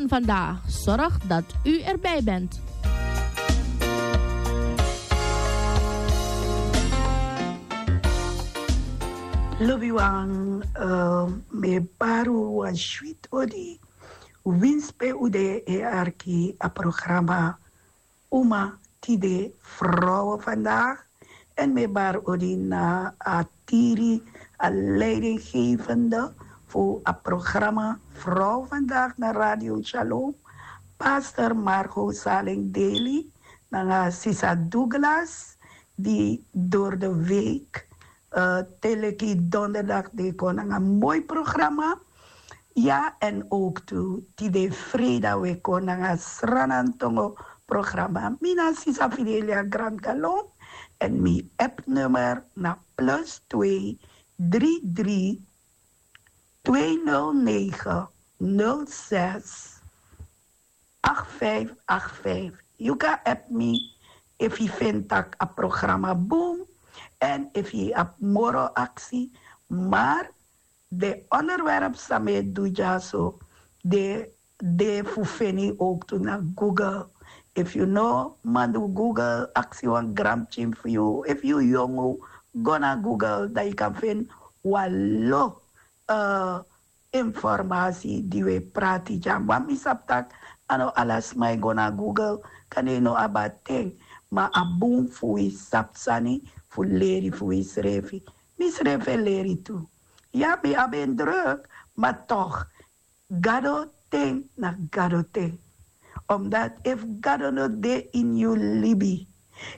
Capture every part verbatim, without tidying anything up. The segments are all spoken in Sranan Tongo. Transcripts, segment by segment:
Vandaag, zorg dat u erbij bent. Lobiwan, eh, mi e bari wan switi odi. Winsi pe un de e arki a programa Uma Tide Vrouwen Vandaag. En mi e bari odi na a tiri, a leidinggevende fu a programa Vrouwen Vandaag na Radio Shalom, pastor Margot Saleng Daly, nanga sisa Douglas, di door de week, eh, te leki donderdag den e kon nanga moi programa. Ya, en ook tu tide freida we kon nanga Sranantongo programa. Mi na sisa Fidelia Grand Galon. En mi app nummer na plus twee drie drie twee nul negen nul zes acht vijf acht vijf. Yu kan app mi efu yu feni tak' a programa bun, en efu yu abi moro aksi. Maar den onderwerp san mi e du dyaso, den de fu feni ook tu na Google. Efu yu no man du Google, aksi wan granpikin fu yu, efu yu yongu, go na Google, dan yu kan feni wan lo, eh, informasi di we prati dya. Ma mi sabi tak' a no ala sma e go na Google, kande yu no abi a ten. Ma a bun fu wi sabi sani fu leri fu wi srefi. Mi srefi e leri tu. Ya, mi abi en druk, ma toch, Gado ten na Gado ten. Omdat efu Gado no de ini yu libi,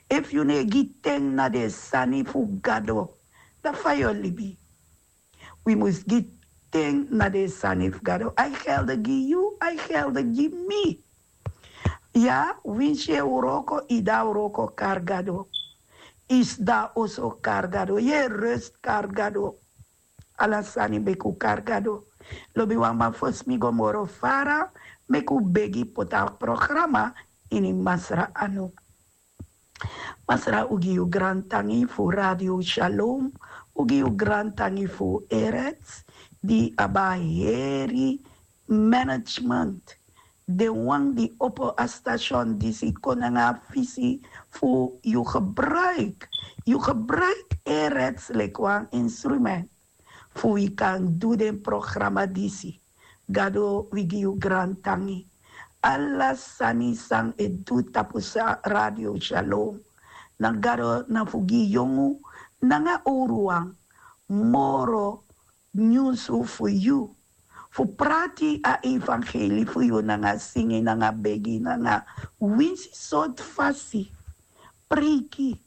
efu yu no e gi ten na den sani fu Gado, dan fa yu o libi? Wi mus gi ten na den sani fu Gado. A e gelde gi yu, a e gelde gi mi. Ya, winsi yu e wroko, yu de na wroko, kari Gado. Yu sidon na oso, kari Gado. Yu e rust, kari Gado. Ala sani meki un kari Gado. Lobiwan, ma fosi mi go moro fara, meki un begi poti a programa ini Masra anu. Masra, un gi yu grantangi fu Radio Shalom, un gi yu grantangi fu Erets, di abi a heri management, den wan di opo a station disi, kon nanga a visi fu yu gebruik, yu gebruik Erets leki wan instrument fu wi kan du den programa disi. Gado, wi gi yu grantangi. Ala sani san e du tapu Radio Shalom, na Gado, na fu gi yongu nanga owruwan moro nyunsu fu yu, fu prati a evangeli fu yu nanga singi, nanga begi, nanga winsi sortu fasi, preiki.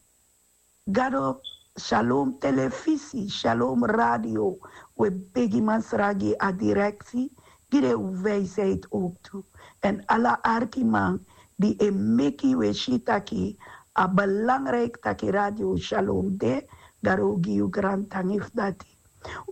Gado, Shalom Telefisi, Shalom Radio, we begi Masra gi a direksi, gi den wijsheid ook tu. En ala arkiman di e meki we si taki a belangrijk taki Radio Shalom de, Gado, un gi yu grantangi fu dati.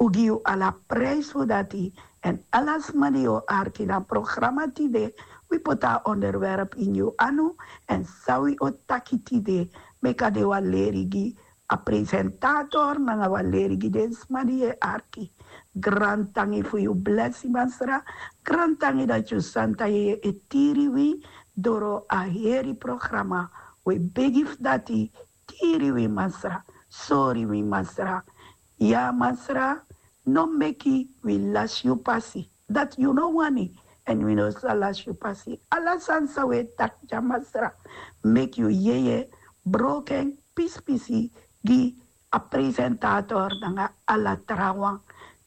Un gi yu ala prijs fu dati. En ala sma di o arki na programa tide, wi poti a onderwerp ini yu anu. En san wi o taki tide, meki a de wan leri gi a presentator nanga wan leri gi den sma di e arki. Grantangi fu yu blesi, Masra. Grantangi dati yu santa yeye e tiri wi doro a heri programa. We begi fu dati, tiri wi, Masra. Sori wi, Masra. Ya, Masra, no meki wi lasi yu pasi. Dati yu no wani, en wi no sa lasi yu pasi. Ala sani san we taki dya, Masra, meki yu yeye broko en pispisi gi a presentator nanga ala trawan.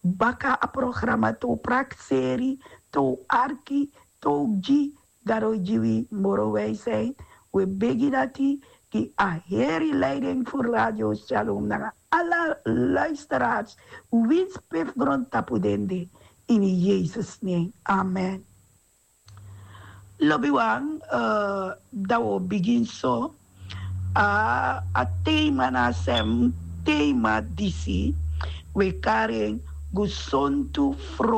Baka a programa, te un prakseri, te un arki, te un gi Gado gi wi moro wijsheid. We begi dati gi a heri leiding fu Radio Shalom nanga ala luisteraars, winsi pe fu grontapu den de, ini Yesus nen. Amen. Lobiwan, eh, dan wi o bigin so. A, a tema na a sem tema disi, we kari en gesontu vrouw.